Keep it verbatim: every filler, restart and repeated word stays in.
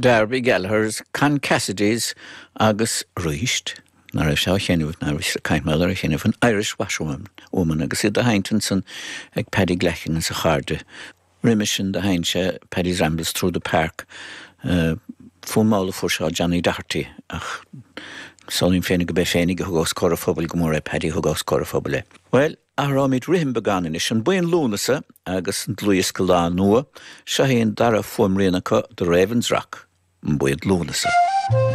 Darby Gallagher's, Con Cassidy's agus arís ná raibh sé chenú ná caiimmear a cheneh an Irish Washerwoman woman agus iad a sheinnt ansan ag Paddy Glackin is a chairde. Roimhe sin do sheinn sé Paddy's Rambles Through the Park uh, fonn mall a fuair sé Johnny Doherty ach Samhlaím féin gurb é féinig a thug os comhair an phobail go mór é Paddy thug os comhair an phobail é. Well, athraímid rithim beagán anois an Buíon Lúnasa agus an dlúthdhiosca Lá Nua seo é an dara fuaimrian acu The Ravens Rock an Buíon Lúnasa.